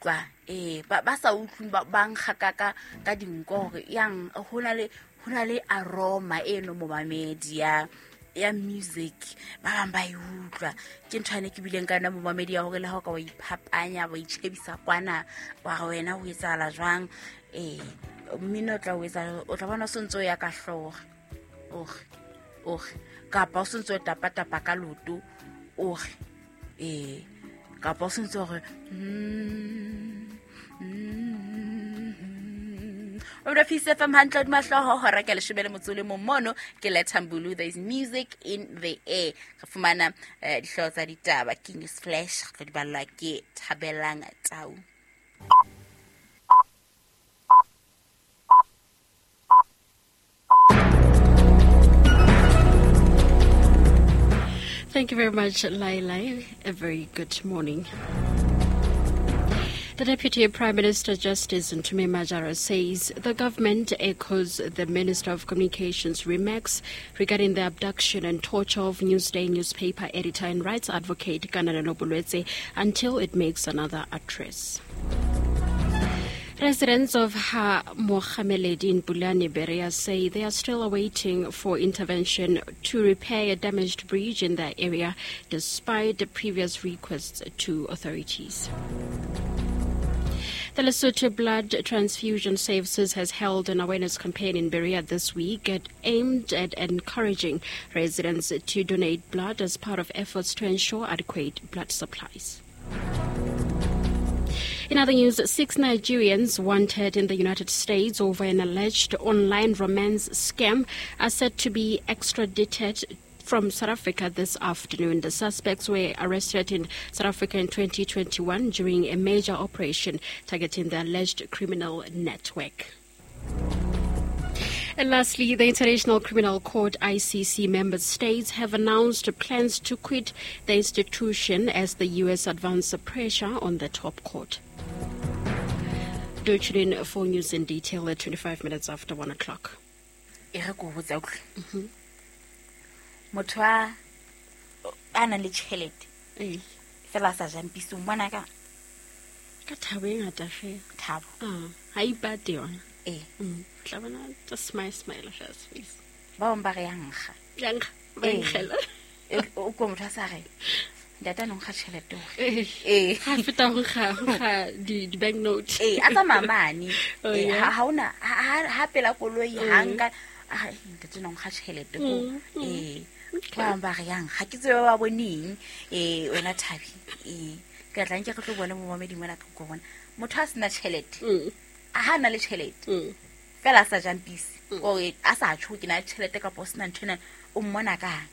utlwa. Ee, ba sa utlwing ba nkga ka dinko gore yang ho na le aroma eno momamedi ya music, ba bang ba e utlwa. Ke ntho ane ke bileng ka yona momamedi ya hore le ha o ka wa iphapanya, wa itjhebisa kwana, wa re wena ho etsahala jwang, ee, mmino o tla o etsa, o tla bona o sontse o ya ka hlooho, ore, ore, kapa o sontse o tapa-tapa ka loto, ore, ee, kapa o sontse o re, O re Peace FM hantle hodima hlooho, hora ke leshome le motso o le mong mono, ke Lethambulu, there is music in the air. Re fumana dihlooho tsa ditaba, ke News Flash, re tlo di ballwa ke Thabelang Tau. Thank you very much, Laila. A very good morning. The Deputy Prime Minister Justice Ntume Majara says the government echoes the Minister of Communications' remarks regarding the abduction and torture of Newsday newspaper editor and rights advocate Kananelo Boloetse until it makes another address. Residents of Ha Mohameledi in Pulane Berea say they are still awaiting for intervention to repair a damaged bridge in their area despite the previous requests to authorities. The Lesotho Blood Transfusion Services has held an awareness campaign in Berea this week aimed at encouraging residents to donate blood as part of efforts to ensure adequate blood supplies. In other news, 6 Nigerians wanted in the United States over an alleged online romance scam are said to be extradited from South Africa this afternoon. The suspects were arrested in South Africa in 2021 during a major operation targeting the alleged criminal network. And lastly, the International Criminal Court ICC member states have announced plans to quit the institution as the U.S. advances pressure on the top court. Do tune in for news in detail at 25 minutes after 1 o'clock. E re ko botsa utlwe. Motho a nang le tjhelete. Fela a sa jampise, o mmona ka? Ka thabo e ngata fela. Thabo. Ha ipate yona. Tla bona just smile, smile first, please. Ba bang ba re ya nkga. Ya nkga, ba nkgela. O ko motho a sa re, ntate a no nkga tjhelete hore. Ha feta ho nkga, ho nkga di bank note. A tsamaya mane. Oh, yeah. Ha hona, ha, ha, ha pela koloi, ha nka, a re, ntate no nkga tjhelete ko. Ba bang ba re yang, ha ke tsebe ba boneng. Wena Thabi. Ke tla nke re tlo bone momamedi mona ka go bona. Motho a sena tjhelete. A ha na le tjhelete. Fela a sa jampise. Ore a sa tjho ke na le tjhelete kapa o sena ntho ena, o mmona kang?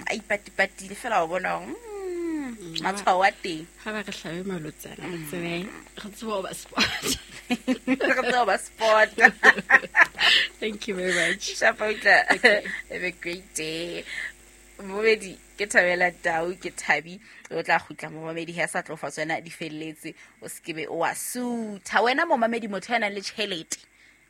A ipatipatile fela o bona hore, matshwao a teng. Ha ba re hlabe malotsana, re tsebe, re tsebe ho ba sport. Re tsebe ho ba sport. Thank you very much. Shapa utla. Okay. Have a great day. Momedi, ke Thabela Tau, ke Thabi, o tla kgutla momamedi ha sa tlo fa tsona di felletse, o se ke be o a sutha. Wena momamedi, motho ya nang le tjhelete,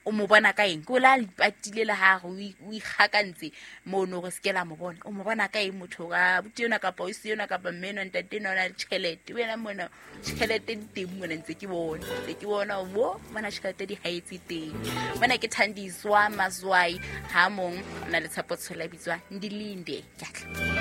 o mo bona ka eng? Ke o la ipatile le ha re o ikgakantse mono re se ke la mo bona. O mo bona ka eng motho ka abuti enwa kapa o se enwa kapa mme enwa, ntate enwa o na le tjhelete? Wena mona tjhelete di teng mona, ntse ke bona, ntse ke bona wo mona tjhelete di haetse teng. Mona ke Thandiswa Mazwai, ha mong o na le Tshepo Tshola, bitswa Ndilinde. Ke a tla.